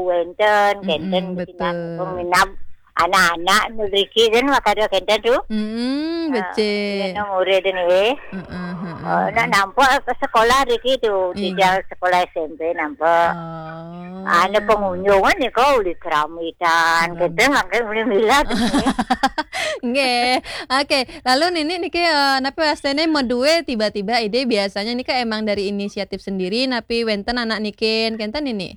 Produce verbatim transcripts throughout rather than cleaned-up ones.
wénten, kénten, mm-mm, betul. Peminab anak-anak niki kan makada kénten tu. Mm-mm, becik. Yen murid niki. Heeh, heeh. Oh, nak nampak ke sekolah niki tu, di sekolah S M P nampak. Oh. Ana pengunjungan nika uli keramitan, kénten makin uli milad. Nggih. Oke, lalu Nini niki, eh, napi wastane medue tiba-tiba ide, biasanya nika emang dari inisiatif sendiri napi wénten anak nikin, kénten Nini?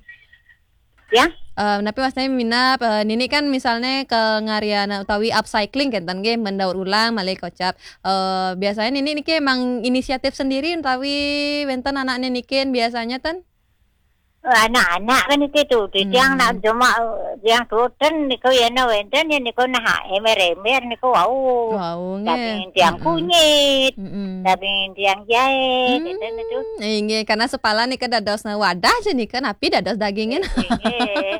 Ya. Eh, napi wastane minab, eh, Nini kan misalnya ke ngarian utawi upcycling kénten nggih, mendaur ulang malih kocap. Eh, biasanya Nini niki emang inisiatif sendiri utawi wénten anakne nikin biasanya ten? Anak-anak kan itu tu, di tiang nak cuma, eh, tiang tuuten niku ya na wénten ya niku nah emer-emer niku wau. Wau, nggih. Daging tiang kunyit, mm-mm, daging tiang jahe, gitu itu. Inggih, karena sepala nika dadosna wadah je nika napi dados dagingin. Inggih.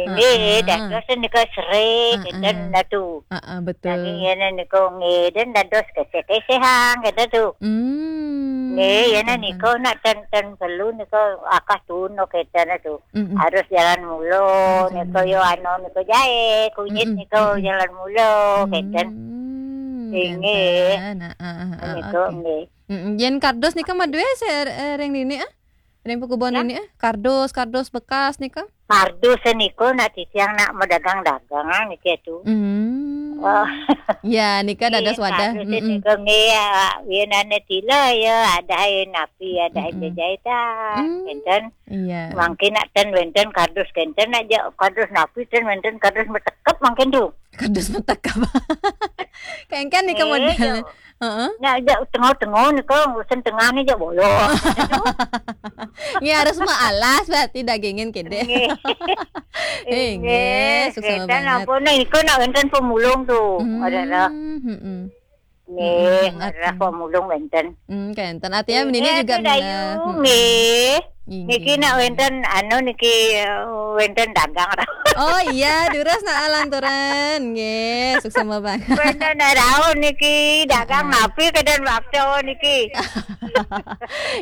Inggih, dados nika serai, gitu dah tu. Heeh, betul. Daging ya niku nggih, dan dados keseh-kesehang, gitu tu. Hmm, nggih, ya niku nak ten-ten perlu niku akah tun, gitu dah tu. Mm-mm. Harus jalan mula, niku yo anu niku jahe, kunyit niku jalan mula, kénten. Hmm, inggih. Kénten. Ah, ah, ah, niku oke. Nggih. Mm-mm. Yen kardus nika madue se-, eh, ring Nini, ah? Ring pakubon Nini, ah? Kardus, kardus bekas nika? Kardus niku nak titiang nak medagang-dagang, ah, niki tu. Hmm. Oh. Ya, nika dados wadah. Kardus niku nggih, ya, yen ane tila ya, ada napi, ada jajahitan. Hmm. Kénten. Iya. Mangkin nak ten wénten kardus kénten aja, kardus napi ten wénten kardus metekep mangkin tu. Kardus metekep. Kengken nika model. Heeh. Nak aja tengah-tengah nika urusan tengah ni aja bolong. Ya harus maalas berarti dagingin kede. Nggih. Inggih, sukses banget. Apa nih, iku nak wénten pemulung tu. Hmm, ada lah. Mm-mm. Nggih, mm-mm, arah pemulung wénten. Hmm, kénten. Artinya Nini juga atuh, Dayu, nggih. Inggih. Niki nak wénten anu niki, eh, wénten dagang. Oh iya, durus nak alanturan. Nggih, sukses banget. Wénten rauh niki dagang napi kedan waktu niki.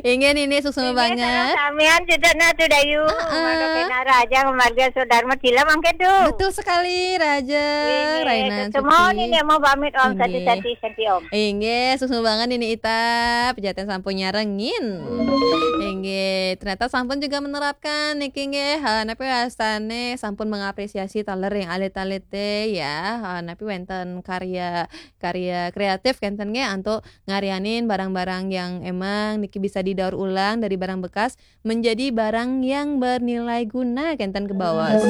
Inggih Nini, sukses banget. Samian cedek nah tu Dayu. Heeh. Mangga kena raja marga Sodarma tila mangke tu. Betul sekali, raja. Inggih, Raina semua Suci. Nini mau pamit Om, inggih. Sati-sati. Santi, Om. Inggih, sukses banget Nini Ita, pejaten sampun nyarengin. Inggih, ternyata sampun juga menerapkan niki nggih, eh, napi rasane sampun mengapresiasi taler yang alit-alite ya. Eh, napi wénten karya, karya kreatif kénten nggih antuk ngarianin barang-barang yang emang niki bisa didaur ulang dari barang bekas menjadi barang yang bernilai guna kénten kebaos.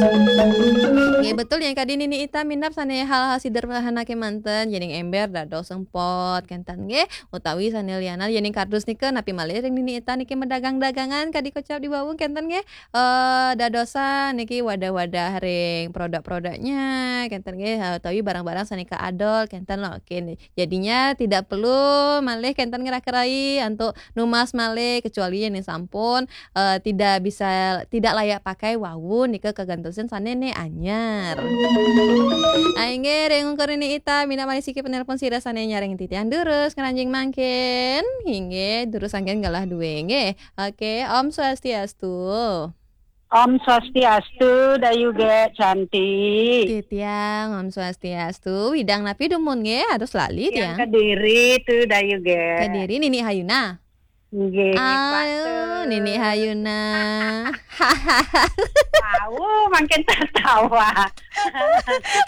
Nggih, betul yang kadi Nini Ita minab sane hal-hal sederhana kemanten, yening ember dados sempot kénten nggih, utawi sane liana yening kardus nika napi malih ring Nini Ita niki medagang-dagangan kadi kocap di wau kénten nggih. Eh, dadosan niki wadah-wadah ring produk-produknya kénten nggih, eh, utawi barang-barang sane kaadol kénten lo. Oke, jadinya tidak perlu malih kénten ngera-kerai antuk numbas malih, kecuali yen sampun, eh, tidak bisa, tidak layak pakai wau nika kagentosin sane ne anyar. Ah, inggih, ring ungkur Nini Ita, minab malih siki penelpon sira sane nyarengin titiang durus ngranjing mangkin. Inggih, durus anggen galah duwe, nggih. Oke, Om Swastiastu. Om Swastiastu, Dayu Gek cantik. Titiang, Om Swastiastu. Widang napi dumun nggih, harus lali tiang. Yang Kediri tu, Dayu Gek. Kediri, Nini Hayuna. Nggih, aduh, Nini Hayuna. Wau, makin tertawa.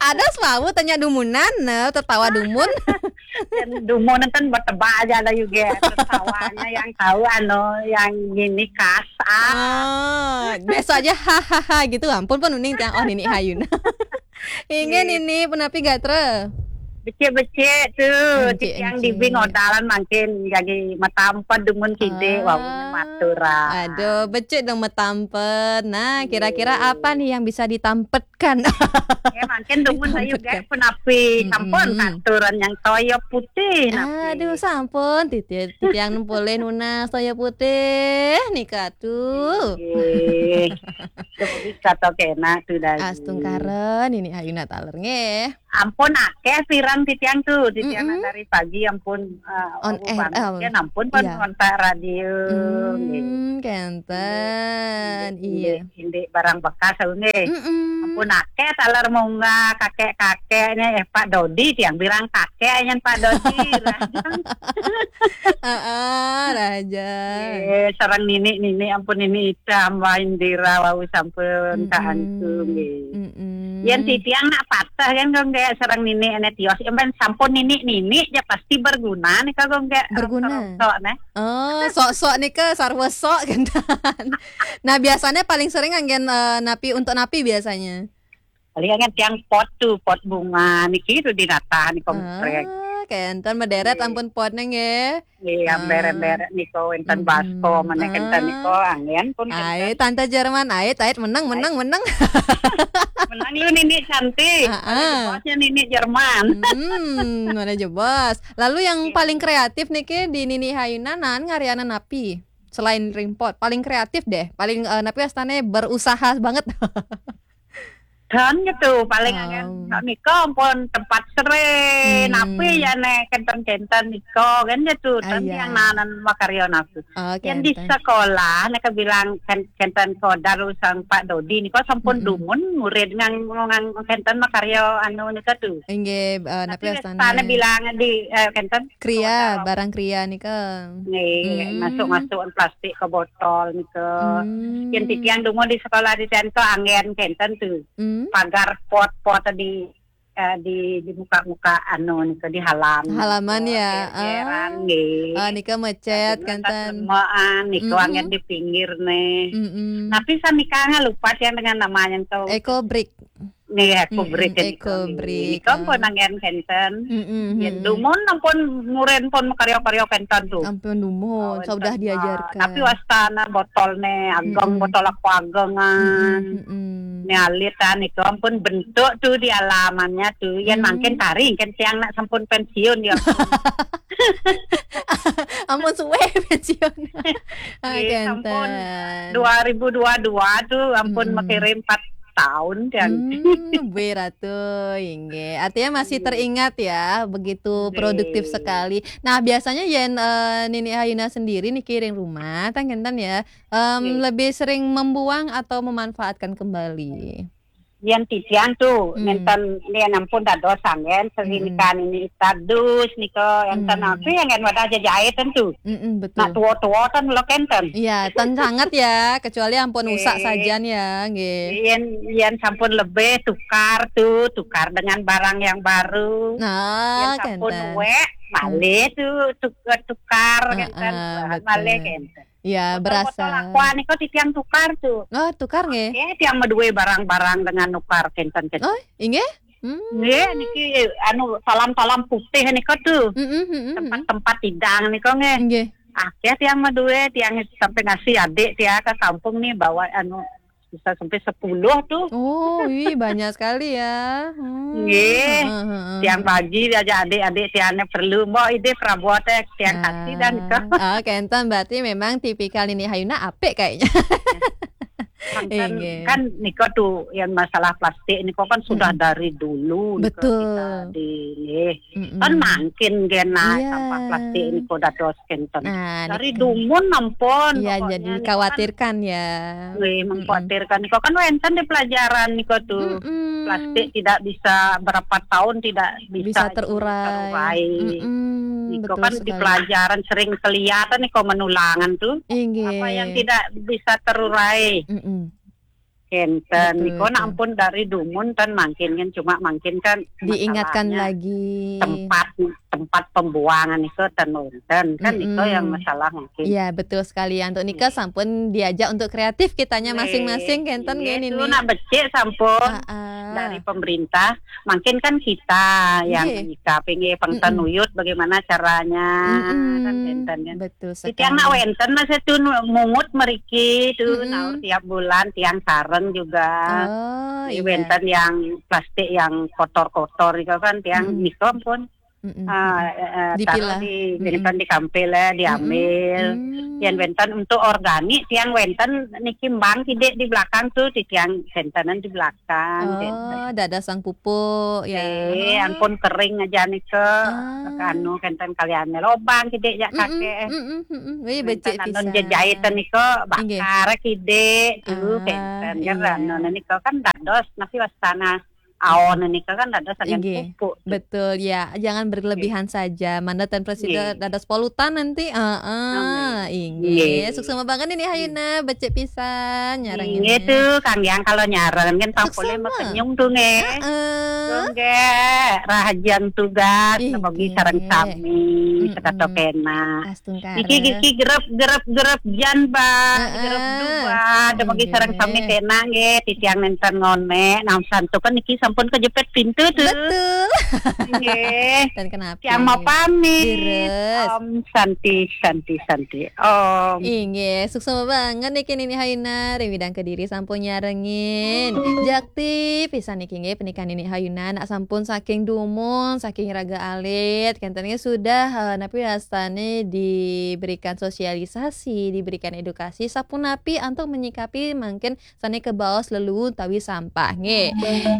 Ada wau tanya dumunan, nah, tertawa dumun. Dumun enten bertebak aja lah juga. Tertawanya yang tahu anu, yang gini kasar. Ah, biasa aja hahaha gitu. Ampun pun uning tiang, oh, Nini Hayuna. Inggih, Nini, punapi gatra? Becik-becik tu, becik yang di bing odalan mangkin jadi matampet dumun kide, ah, wau maturan. Aduh, becik dong matampet. Nah, kira-kira apa nih yang bisa ditampet Ditampetkan. Ya, mangkin dumun ayu gek punapi. Sampun aturan yang toya putih napi. Aduh, sampun. Titi-, titiang nempulih nunas toya putih nika tuh. Nggih. Bisa to kena tuh dari. Astungkara Nini Hayuna taler nggih. Ampun akeh pirang titiang tuh, titiang dari pagi ampun, eh, on air, banget, ampun pun ngontak radio. Hmm, kenten. Iya. Indik barang bekas aku nggih. Ampun akeh taler munggah kakek-kakeknya, eh, Pak Dodi, tiang bilang kakek nyen Pak Dodi. Heeh, raja. Eh, sareng nini-nini ampun nini Ida Mbak Indira wau sampun kaantu nggih. Yen titiang nak patah kan kok nggih sareng nini ene tios, yen sampun nini-nini ya pasti berguna nih kok nggih. Berguna. Sok-sok nih. Oh, sok-sok nika sarwa sok gentan. Nah, biasanya paling sering anggen, eh, napi untuk napi biasanya? Paling anggen tiang pot tuh, pot bunga niki tuh dinatah nih komprek. Ah, kenten mederet ampun potnya nggih. Iya, bere-bere niko wenten basko mana kenten niko anggen pun. Ai, Tante Jerman, ai, ait menang, menang, menang. Menang lu nini cantik. Heeh. Bosnya nini Jerman. Hmm, mana jebos. Lalu yang paling kreatif niki di Nini Hayuna nan ngariana napi? Selain ring pot, paling kreatif deh, paling, eh, napi astane berusaha banget. Dan gitu, paling anggen nika ampun tempat sere, napi ya nek kenten-kenten nika kan gitu, dan yang nanan makarya naku. Oh, yang di sekolah nek bilang kenten kodar usang Pak Dodi nika sampun dumun murid ngang, ngang kenten makarya anu nika tuh. Inggih, eh, napi astane? Tapi astane bilang di, eh, kenten kriya, barang kriya nika. Nih, masuk-masukan plastik ke botol nika. Yang titiang dungu di sekolah di tento anggen kenten tuh. Pagar pot-pot di, eh, di, di muka-muka anu nika di halaman. Halaman ya. Jeran nggih. Oh, nika mecet kenten. Lemaan nika anggen di pinggir nih. Tapi sanikanga lupa yang dengan namanya tuh. Eco brick. Nih, eco brick, eco brick. Nika pun anggen kenten. Yen dumun ampun murid pun makarya-karya kenten tuh. Ampun dumun, sudah diajarkan. Tapi wastana botolne ageng, botol aku agengan. Nih alit kan itu ampun bentuk tuh di alamannya tuh. Yen mangkin tari kan tiang nak sampun pensiun ya. Ampun suwe pensiun. Ah, kenten. Dua ribu dua dua tuh ampun makirim empat tahun kan. Hmm, Bu Ratu, inggih. Artinya masih teringat ya, begitu produktif sekali. Nah, biasanya yen, eh, Nini Hayuna sendiri nih kiring rumah, tang kenten ya, em, lebih sering membuang atau memanfaatkan kembali? Yen titiang tuh, nenten yen ampun dados anggen, sering kan ini tadus niko, enten apa yang kan wadah jajait tentu. Mm-mm, betul. Nak tua-tua kan lo kenten. Iya, ten sangat ya, kecuali ampun usak sajan ya, nggih. Yen, yen sampun lebih tukar tuh, tukar dengan barang yang baru. Nah, yen sampun wek, malih tuh tuk-, tukar kenten, malih kenten. Iya, berasa. Botol aqua niko titiang tukar tuh. Oh, tukar nggih. Oke, tiang maduwe barang-barang dengan nukar kenten kenten. Oh, inggih? Hmm. Nggih, niki anu salam-salam putih niko tuh. Mm-mm, mm-mm. Tempat-tempat tidang niko nggih. Nggih. Akeh tiang maduwe, tiang sampai ngasih adik tiang ke kampung nih bawa anu bisa sampai sepuluh tuh. Oh, wih, banyak sekali ya. Hmm. Nggih. Heeh, heeh. Tiang bagi aja adik-adik tiangnya perlu. Mbok ide perabot eh tiang kasih dan niko. Oh, kenten berarti memang tipikal Nini Hayuna apik kayaknya. Kan, kan niko tuh yang masalah plastik niko kan sudah dari dulu niko kita di nggih. Kan mangkin genah sampah plastik niko dados kenten. Nah, dari dumun ampun. Iya, pokoknya jadi niko kan dikhawatirkan ya. Wih, mengkhawatirkan. Niko kan wenten di pelajaran niko tuh. Plastik tidak bisa berapa tahun tidak bisa terurai. Niko betul kan di sekali. Pelajaran sering kelihatan niko menulangan tuh. Inggih. Apa yang tidak bisa terurai. Kenten. Betul, niko nak ampun dari dumun kan mangkin kan cuma mangkin kan diingatkan masalahnya lagi. Tempat tempat pembuangan itu ten wénten kan, itu yang masalah mungkin. Iya, betul sekali. Untuk nika sampun diajak untuk kreatif kitanya masing-masing, kenten nggih, Nini? Nak becik sampun dari pemerintah, mungkin kan kita yang menyikapi nggih, pengten uyut bagaimana caranya, kan kenten kan. Betul sekali. Titiang nak wénten masih tuh mungut meriki tuh, nah, tiap bulan tiang sareng juga. Oh, iya. Wénten yang plastik yang kotor-kotor itu kan tiang nika pun ah, eh, eh, taruh di, wénten di kampil, eh, diambil. Yang wénten untuk organik, tiang wénten niki mbang kidik di belakang tuh, di tiang wéntenan di belakang. Oh, dados sang pupuk, ya. Eh, ampun kering aja nika. Anu, wénten kalian lobang kidik ya kakek. Wih, becik pisan. Jejait nika bakar kidik tuh, wénten. Kan anu nika kan dados, nasi wastana. Aon nika kan dados sangat pupuk. Betul, ya. Jangan berlebihan saja. Mana ten presiden dados polutan nanti. Heeh, inggih. Suksma banget ini Hayuna, becik pisan nyarengin. Inggih tuh, Kang Yang kalau nyareng kan pang boleh makenyung tuh nggih. Heeh. Tuh nggih, rahajeng tugas, nemogi sareng sami, sekato kena. Niki, niki gerep, gerep, gerep jan, Bah. Gerep du, Bah. Demogi sareng sami kena nggih, titiang nénten ngonék, nah santukan niki sampun kejepit pintu tuh. Betul. Nggih. Dan kenapa? Tiang mau pamit. Om Santi, Santi, Santi. Om. Inggih, suksma banget niki Nini Hayuna, ring Widang Kediri sampun nyarengin. Jakti pisan niki nggih, pernikahan Nini Hayuna, nak sampun saking dumun, saking raga alit, kenten nggih sudah, eh, napi wastane diberikan sosialisasi, diberikan edukasi, sapunapi antuk menyikapi mangkin sane kebaos lelu utawi sampah nggih.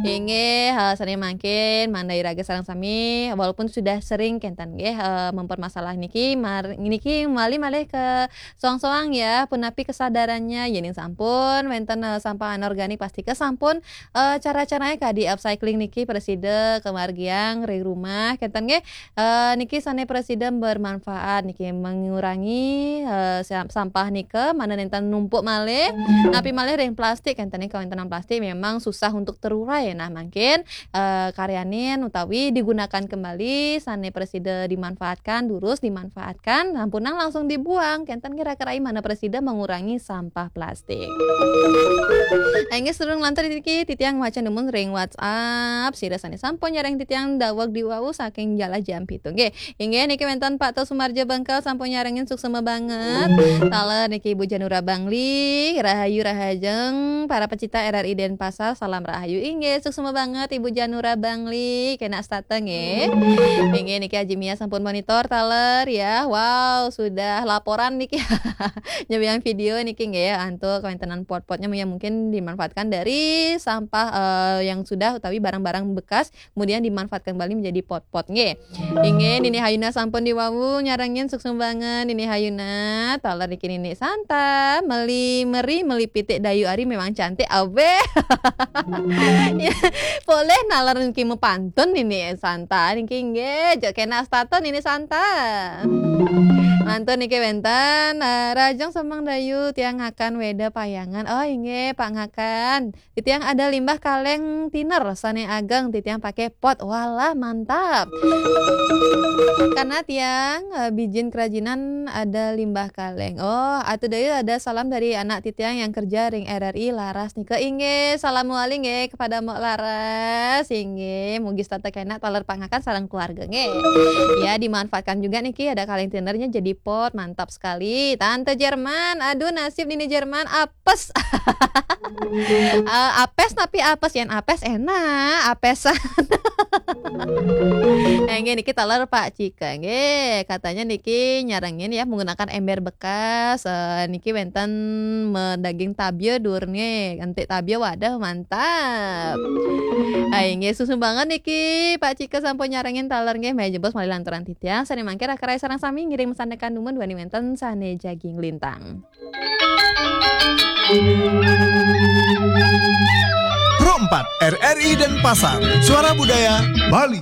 Inggih, eh, sane mangkin mandai raga sareng sami, walaupun sudah sering kenten nggih, eh, mempermasalah niki, mar-, niki malih-malih ke soang-soang ya, punapi kesadarannya, yening sampun wenten, eh, sampah anorganik plastik sampun, eh, cara-caranya kadi upcycling niki presida kemargiang ring rumah, kenten nggih. Eh, niki sane presida bermanfaat niki, mengurangi, eh, sam-, sampah nika, mana nenten numpuk malih, napi malih ring plastik, kenten niki kawentenan plastik memang susah untuk terurai. Nah, mangkin, eh, karyanin utawi digunakan kembali sane presida dimanfaatkan, durus dimanfaatkan, sampunang langsung dibuang, kenten kira-kira mana presida mengurangi sampah plastik. Inggih, sedurung lantur niki titiang maca dumun ring WhatsApp, sira sane sampun nyareng titiang daweg di wau saking Jalan Jam Pitu. Nggih, inggih niki wenten Pak Tos Sumarjo Bengkel sampun nyarengin suksma banget. Taler niki Ibu Janura Bangli, rahayu rahajeng para pecinta R R I Denpasar, salam rahayu. Inggih, suksma banget Ibu Janura Bangli, kena stata nggih. Inggih niki Haji Mia sampun monitor taler ya. Wow, sudah laporan niki. Nyebiang video niki nggih, antuk kawentenan pot-potnya yang mungkin dimanfaatkan dari sampah, eh, yang sudah utawi barang-barang bekas, kemudian dimanfaatkan kembali menjadi pot-pot nggih. Inggih, Nini Hayuna sampun di wau nyarengin suksma banget Nini Hayuna. Taler niki Nini Santa, meli meri, meli pitik dayu ari memang cantik, awe. Ya, boleh naler niki mapantun Nini Santa niki nggih, jek kena stata Nini Santa. Mantun niki wenten, eh, rahajeng semeng dayu tiang ngakan weda payangan. Oh, inggih, Pak ngakan. Titiang ada limbah kaleng tiner sane ageng, titiang pakai pot. Walah, mantap. Karena tiang, eh, bijin kerajinan ada limbah kaleng. Oh, atu dayu ada salam dari anak titiang yang kerja ring R R I Laras nika. Inggih, salam wali nggih kepada Mbok Laras. Inggih, mugi setata kena taler pangakan sareng keluarga nggih. Ya, dimanfaatkan juga niki ada kaleng tinernya jadi pot. Mantap sekali. Tante Jerman, aduh nasib Nini Jerman, apes. Eh, apes tapi apes, yen apes enak, apesan. Eh, nggih, niki taler Pak Cika, nggih. Katanya niki nyarengin ya menggunakan ember bekas. Eh, niki wenten me-, daging tabia dur nggih. Entik tabia, waduh, mantap. Ai, nggih, suksma banget niki Pak Cika sampun nyarengin taler nggih. Meh jebos malih lanturan titiang. Sane mangkin raka rai sareng sami ngiring masandekan dumun duaning wenten sane jagi nglintang. Pro empat, R R I Denpasar, Suara Budaya Bali.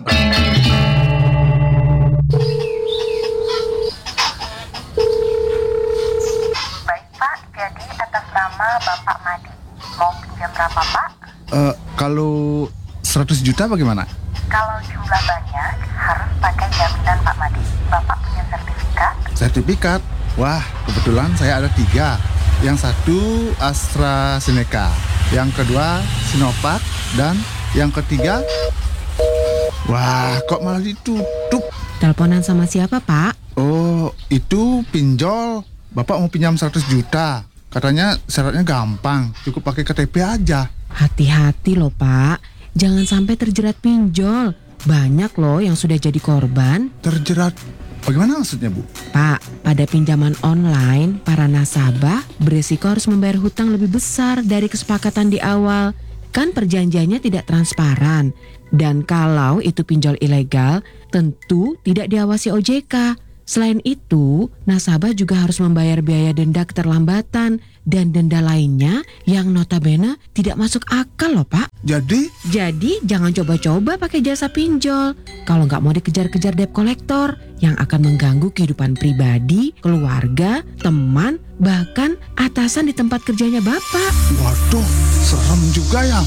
Baik, Pak, jadi atas nama Bapak Madi. Mau pinjam berapa, Pak? Eh, kalau seratus juta bagaimana? Kalau jumlah banyak, pakai jaminan Pak Made. Bapak punya sertifikat? Sertifikat? Wah, kebetulan saya ada tiga. Yang satu AstraZeneca, yang kedua Sinovac, dan yang ketiga... Wah, kok malah ditutup? Teleponan sama siapa, Pak? Oh, itu pinjol. Bapak mau pinjam seratus juta. Katanya syaratnya gampang, cukup pakai K T P aja. Hati-hati loh, Pak. Jangan sampai terjerat pinjol. Banyak loh yang sudah jadi korban. Terjerat? Bagaimana maksudnya, Bu? Pak, pada pinjaman online, para nasabah beresiko harus membayar hutang lebih besar dari kesepakatan di awal. Kan perjanjiannya tidak transparan. Dan kalau itu pinjol ilegal, tentu tidak diawasi O J K. Selain itu, nasabah juga harus membayar biaya denda keterlambatan dan denda lainnya yang notabene tidak masuk akal loh, Pak. Jadi? Jadi jangan coba-coba pakai jasa pinjol kalau nggak mau dikejar-kejar debt collector yang akan mengganggu kehidupan pribadi, keluarga, teman, bahkan atasan di tempat kerjanya Bapak. Waduh, serem juga ya.